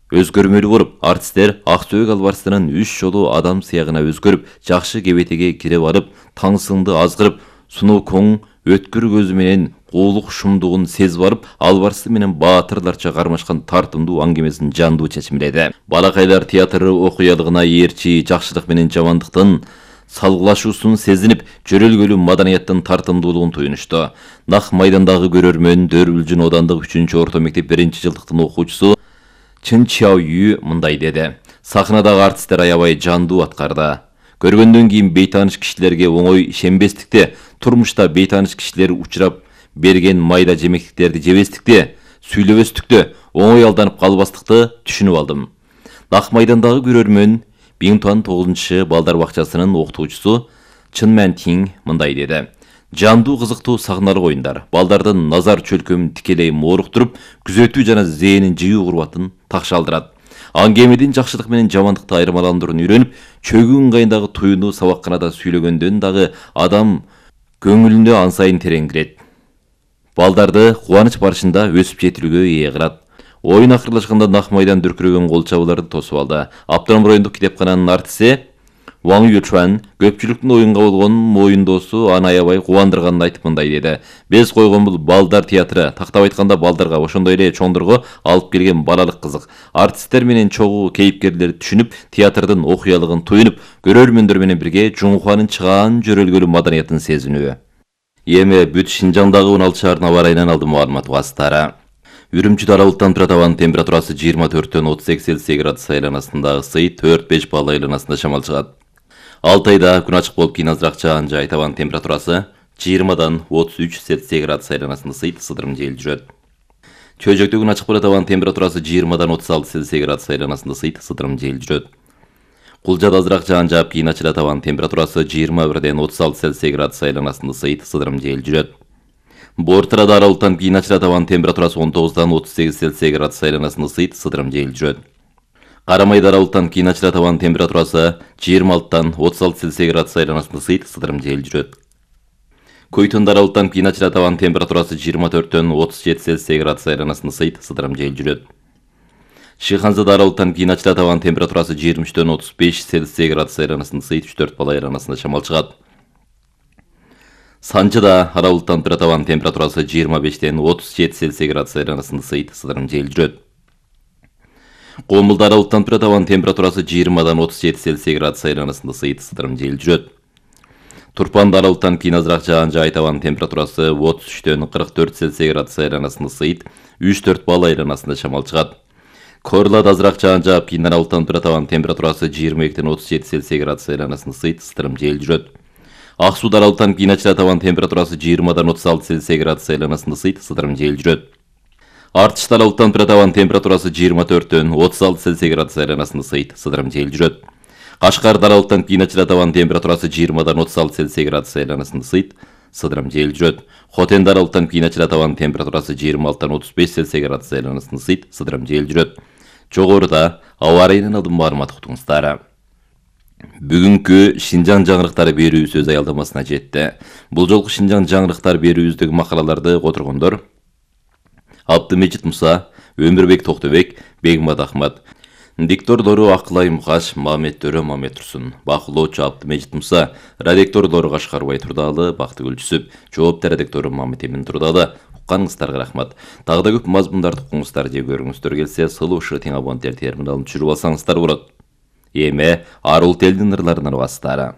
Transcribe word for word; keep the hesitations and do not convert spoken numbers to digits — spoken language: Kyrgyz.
өзгөрмөлүү болуп, артисттер Ак Сөөгү албарсынын үч жолу адам сыягына өзгөрүп, жакшы кебетеге кире барып, таңсыңды азгырып, сунуу коң өткүр көзү менен куулук шумдугун сезип барып, албарсы менен баатырларча кармашкан тартымдуу аңгемесин жандуу чечимледи. Балакайлар театры окуялыгына ээрчи жакшылык менен жамандыктын салгылашуусун сезинип, жөрөлгөлүү маданияттын тартымдуулугун туюнушту. Нак майдандагы көрөрмөн Дөөрүлжүн оодандык үчүнчү орто мектеп биринчи жылдыктын окуучусу Чын Чао Ю мындай деди. Сахнадагы артисттер аябай жандуу аткарды. Көргөндөн кийин бейтааныш кишилерге оңой ишенбестикте, турмушта бейтааныш кишилер учурап берген майда жемектиктерди жебестикте, сүйлөбөстүктө, оңой алданып калбастыкты түшүнүп алдым. Нак майдандагы көрөрмөн Биңтуан тогузунчу балдар бакчасынын окутуучусу Чын Мэн Тиң мындай деди. Жандуу кызыктуу сахналык оюндар, балдардын назар чөлкөмүн тикелей мооруктуруп, күзөтүү жана зээнин жыйуу курбатын такшалдырат. Аңгемедин жакшылык менен жамандыкты айырмаландырууну үйрөнүп, чөгүү ыңгайындагы туюну сабакканада сүйлөгөндөн дагы адам көңүлүнө ан сайын терең кирет. Балдарды кубаныч барышында өсүп жетилүүгө ээ кылат. Оюн акырлашканда Нак майдан дүркүрөгөн кол чабууларды тосуп алды. Автоном райондук китепкананын артиси Ваң Ючуан көпчүлүктүн оюнга болгон моюндоосу аны аябай кубандырганын айтып мындай деди. Биз койгон бул балдар театры, тактап айтканда балдарга, ошондой эле чоңдорго алып келген балалык кызык. Артисттер менен чогуу кейипкерлерди түшүнүп, театрдын окуялыгын туюнуп, көрөрмөндөр менен бирге Жуңхуанын чыгаан жөрөлгөлүү маданиятын сезинүү. Эми бүт Шинжаңдагы он алты шаарына барайынан алдым маалымат басытары. Үрүмчүдө аралыктан турат абанын температурасы жыйырма төрттөн отуз эки Цельсий градус айланасында, ысый төрт беш балл айланасында шамал чыгат. Алтайда күн ачык болуп кийин азыраак жаан жайт, абанын температурасы жыйырмадан отуз үч Цельсий градус айланасында ысыйт, сыдырым жел жүрөт. Чөйжөктө күн ачык болот, абанын температурасы жыйырмадан отуз алты Цельсий градус айланасында ысыйт, сыдырым жел жүрөт. Кулжада азыраак жаан жаап кийин ачылат, абанын температурасы жыйырма бирден отуз алты Цельсий градус айланасында ысыйт, сыдырым жел жүрөт. Бортырада аралыктан кийин ачылат, абанын температурасы он тогуздан отуз сегиз Цельсий градус айланасында ысыйт, сыдырым жел жүрөт. Карамайда аралыктан кийин ачылат, абанын температурасы жыйырма алтыдан отуз алты Цельсий градус айланасында ысыйт, сыдырым жел жүрөт. Көйтөндө аралыктан кийин ачылат, абанын температурасы жыйырма төрттөн отуз жети Цельсий градус айланасында ысыйт, сыдырым жел жүрөт. Шыйханзада аралыктан кийин ачылат, абанын температурасы жыйырма үчтөн отуз беш Цельсий градус айланасында ысыйт, үч төрт балл айланасында шамал чыгат. Санчыда аралыктан турат, абанын температурасы жыйырма бештен отуз жети Цельсий градус айланасында ысыйт, сыдырым жел жүрөт. Комулда аралыктан турат, абанын температурасы жыйырмадан отуз жети Цельсий градус айланасында ысыйт, сыдырым жел жүрөт. Турпанда аралыктан кийин азыраак жаан жайт, абанын температурасы отуз үчтөн кырк төрт Цельсий градус айланасында ысыйт, үч төрт балл айланасында шамал чыгат. Корлада азыраак жаан жаап кийин аралыктан турат, абанын температурасы жыйырма экиден отуз жети Цельсий градус айланасында ысыйт, сыдырым жел жүрөт. Ак Сууда аралыктан кийин ачылат, абанын температурасы жыйырмадан отуз алты Цельсий градус айланасында ысыйт, сыдырым жел жүрөт. Артышта аралыктан турат, абанын температурасы жыйырма төрттөн отуз алты Цельсий градус айланасында ысыйт, сыдырым жел жүрөт. Кашкарда аралыктан кийин ачылат, абанын температурасы жыйырмадан отуз алты Цельсий градус айланасында ысыйт, сыдырым жел жүрөт. Хотенде аралыктан кийин ачылат, абанын температурасы жыйырма алтыдан отуз беш Цельсий градус айланасында ысыйт, сыдырым жел жүрөт. Жогоруда аба ырайынан алдым маалымат уктуңуздар. Бүгүнкү Шинжаң жаңырыктары берүүбүз өз аялдамасына жетти. Бул жолку Шинжаң жаңырыктар берүүбүздөгү макалаларды которгондор Абдымежит Муса, Өмүрбек Токтобек, Бегмат Ахмат. Диктордору Акылай Мукаш, Мамет Төрө, Мамет Турсун. Бакылоочу Абдымежит Муса, редактордору Кашкарбай Турдалы, Бактыгүл Жүсүп, жооптор редактору Мамет Эмин Турдалы. Укканыңыздарга рахмат. Дагы да көп мазмундарды укуңуздар же көрүңүздөр келсе, сылуу ушу тең абоненттер терминалын түшүрүп алсаңыздар болот. Эми арул телдин ырларынан басытары.